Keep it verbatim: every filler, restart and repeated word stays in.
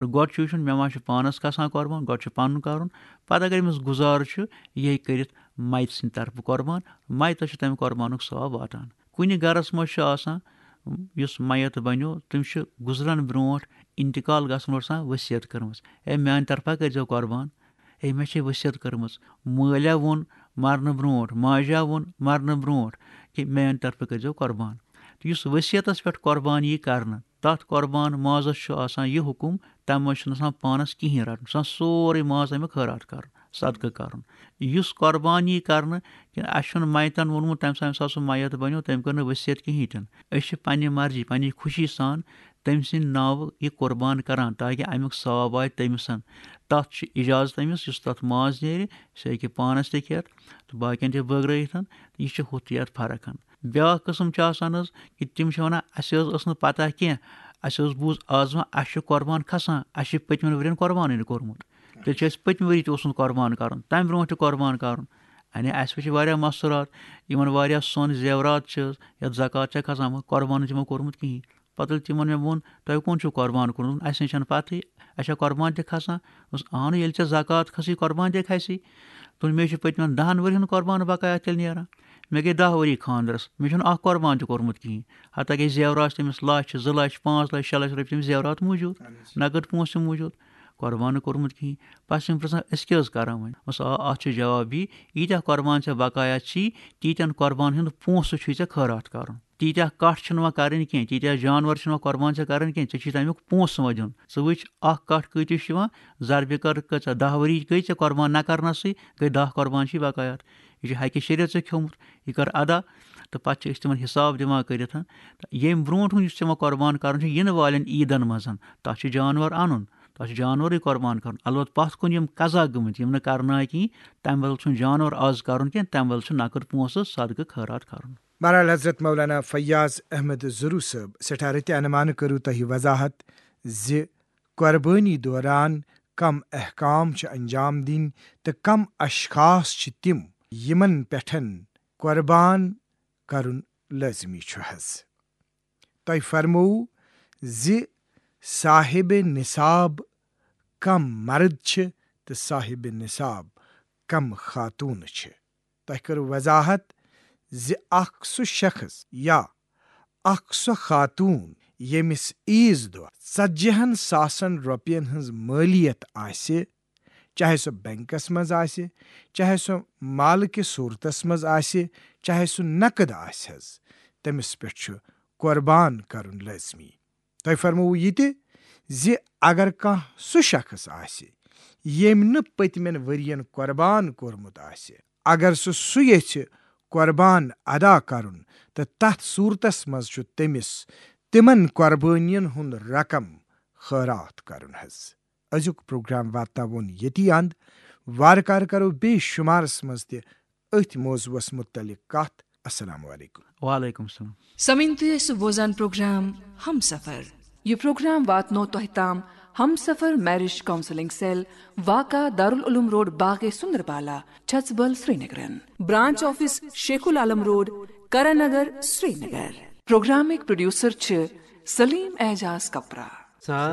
گۄڈٕ چھُ وٕچھُن، مےٚ ما چھُ پانَس کھسان قۄربان، گۄڈٕ چھُ پَنُن کَرُن۔ پَتہٕ اگر أمِس گُزارٕ چھُ، یہِ ہیٚکہِ کٔرِتھ مَیتہٕ سٕنٛدِ طرفہٕ قۄربان، مَیتَس چھُ تَمہِ قۄربانُک ثواب واتان۔ کُنہِ گَرَس منٛز چھُ آسان، یُس مَیت بَنیو، تٔمِس چھُ گُزرَن برونٛٹھ، اِنتِقال گژھَن برونٛٹھ آسان وصیت کٔرمٕژ، "ہے، میٛانہِ طرفہٕ کٔرۍزیو قۄربان، ہے، مےٚ چھے وصیت کٔرمٕژ، مٲلیا ووٚن مَرنہٕ برونٛٹھ، ماجا ووٚن مَرنہٕ برونٛٹھ کہِ میٛانہِ طرفہٕ کٔرۍزیو قۄربان۔" تہٕ یُس وصیتَس پٮ۪ٹھ قۄربان یی کَرنہٕ، تَتھ قۄربان مازَس چھُ آسان یہِ حُکُم، تَمہِ منٛز چھُنہٕ آسان پانَس کِہیٖنۍ رَٹُن، چھُ آسان سورُے ماز اَمیُک خٲرات کَرُن، صدقہٕ کَرُن۔ یُس قۄربان یی کَرنہٕ، کہِ اَسہِ چھُنہٕ مَیتَن ووٚنمُت، تَمہِ ساتہٕ، ییٚمہِ ساتہٕ سُہ مَیت بَنیو، تٔمۍ کٔر نہٕ وصیت کِہیٖنۍ تہِ نہٕ۔ أسۍ چھِ پنٛنہِ مرضی، پنٛنہِ خوشی سان تٔمۍ سٕنٛدِ ناوٕ یہِ قۄربان کَران، تاکہِ اَمیُک ثواب واتہِ تٔمِس۔ تَتھ چھُ اِجازت أمِس، یُس تَتھ ماز نیرِ، سُہ ہیٚکہِ پانَس تہِ کھٮ۪تھ تہٕ باقیَن تہِ بٲگرٲیِتھ۔ یہِ چھِ ہُتھ یَتھ فرق۔ بیٛاکھ قٕسٕم چھُ آسان حظ کہِ تِم چھِ وَنان، "اَسہِ حظ ٲس نہٕ پَتہ کینٛہہ، اَسہِ حظ بوٗز آز وۄنۍ اَسہِ چھُ قۄربان کھسان، اَسہِ چھِ پٔتمٮ۪ن ؤرِین قۄربانٕے نہٕ کوٚرمُت، تیٚلہِ چھُ اَسہِ پٔتمہِ ؤری تہِ اوسمُت قۄربان کَرُن، تَمہِ برونٛٹھ تہِ قۄربان کَرُن۔ یعنی اَسہِ وٕچھ واریاہ مَستوٗرات، یِمَن واریاہ سۄن زیورات چھِ، یَتھ زکوٰۃ چھےٚ کھسان، مگر قۄربان چھُ یِمو کوٚرمُت کِہیٖنۍ۔" پَتہٕ ییٚلہِ تِمَن مےٚ ووٚن، "تۄہہِ کون چھُو قۄربان کوٚرمُت؟" "اَسہِ نَے چھَنہٕ پَتہٕے، اَسہِ چھا قۄربان تہِ کھسان؟" دوٚپُس، "اَہنُو، ییٚلہِ ژےٚ زکوٰۃ کھسٕے، قۄربان تہِ کھسہِ۔" دوٚپُن، "مےٚ چھُ پٔتمٮ۪ن دَہَن ؤرِین قۄربان بقایا تیٚلہِ نیران۔ مےٚ گٔے دَہ ؤری خانٛدرَس، مےٚ چھُنہٕ اَکھ قۄربان تہِ کوٚرمُت کِہیٖنۍ۔ حتیٰ کہِ زیورات چھِ تٔمِس لَچھ، زٕ لَچھ، پانٛژھ لَچھ، شےٚ لَچھ رۄپیہِ تٔمِس زیورات موٗجوٗد، نقد پونٛسہٕ تہِ موٗجوٗد، قۄربان نہٕ کوٚرمُت کِہیٖنۍ۔" پَتہٕ چھِ أمۍ پرٛژھان، "أسۍ کیٛاہ حظ کَرو وۄنۍ؟" دوٚپمَس، "آ، اَتھ چھُ جواب یی، ییٖتیٛاہ قۄربان ژےٚ بقایا چھی، تیٖتیٛاہَن قۄربان ہُنٛد پونٛسہٕ چھُے ژےٚ خٲرات کَرُن۔ تیٖتیٛاہ کَٹھ چھِنہٕ وۄنۍ کَرٕنۍ کینٛہہ، تیٖتیٛاہ جانوَر چھِنہٕ وۄنۍ قۄربان ژےٚ کَرٕنۍ کینٛہہ، ژےٚ چھی تَمیُک پونٛسہٕ وۄنۍ دیُن۔ ژٕ وٕچھ، اَکھ کَٹھ کۭتِس چھُ یِوان، ضربہِ کر کۭژاہ، دَہ ؤری گٔے ژےٚ قۄربان نہ کَرنَسٕے، گٔے دَہ قۄربان چھی بقایا۔ یہِ چھُ حقہِ شریعت ژےٚ کھیوٚمُت، یہِ کر ادا۔" تہٕ پَتہٕ چھِ أسۍ تِمَن حِساب دِوان کٔرِتھ۔ تہٕ ییٚمہِ برونٛٹھ یُس ژےٚ وۄنۍ قۄربان کَرُن چھُ یِنہٕ والٮ۪ن عیٖدَن منٛز، تَتھ چھُ جانوَر اَنُن، تَتھ چھُ جانوَرٕے قۄربان کَرُن۔ البتہ پَتھ کُن یِم قضا گٔمٕتۍ، یِم نہٕ کَرنہٕ آے کِہیٖنۍ، تَمہِ بدل چھُنہٕ جانوَر آز کَرُن کینٛہہ، تَمہِ بدل چھُ نقد پونٛسہٕ صدقہٕ خٲرات کَرُن۔ بہرحال، حضرت مولانا فیاض احمد زرو صٲب، سٮ۪ٹھاہ رٕتہِ عنوانہٕ کٔرٕو تۄہہِ وضاحت زِ قۄربٲنی دوران کم احکام چھِ انجام دِنۍ تہٕ کم اشخاص چھِ تِم، یِمن پٮ۪ٹھ قۄربان کرُن لٲزمی چھُ حظ۔ تۄہہِ فرموو زِ صاحب نصاب کم مرد چھِ تہٕ صاحب نصاب کم خاتون چھِ۔ تۄہہِ کٔر وضاحت زِ اکھ سُہ شخص یا اکھ سۄ خاتون، ییٚمِس عیٖذ دۄہ ژتجی ہن ساسن رۄپین ہٕنٛز مٲلیت آسہِ، چاہے سُہ بینکس منٛز آسہِ، چاہے سُہ مال کِس صوٗرتس منٛز آسہِ، چاہے سُہ نقد آسہِ حظ، تٔمِس پٮ۪ٹھ چھُ قۄربان کرُن لٲزمی۔ تۄہہِ فرمووُ یہِ تہِ زِ اگر کانٛہہ سُہ شخص آسہِ، ییٚمۍ نہٕ پٔتمٮ۪ن ؤرین قۄربان کوٚرمُت آسہِ، اگر سُہ سُہ یژھِ قۄربان ادا کرُن، تہٕ تتھ صوٗرتس منٛز چھُ تٔمِس تِمن قۄربٲنین ہُنٛد رقم خٲرات کرُن حظ۔ أزیُک پروگرام واتناوون ییٚتی اند۔ وارٕ کارٕ کرو بیٚیہِ شُمارس منٛز تہِ أتھۍ موضوعس متعلق کتھ۔ السلام علیکم۔ وعلیکم السلام۔ سمعین، تُہۍ ٲسِو بوزان پروگرام ہم سفر۔ یہِ پروگرام واتنو تۄہہِ تام ہم سفر میرج کاؤنسلنگ سیل، واقع دارالعلوم روڈ، باغ سندربالا، چھژبل، سرینگرن۔ برانچ آفس شیخ العالم روڈ، کرن نگر، سرینگر۔ پروگرامٕکۍ پروڈیوسر چھِ سلیم اعجاز کپرا۔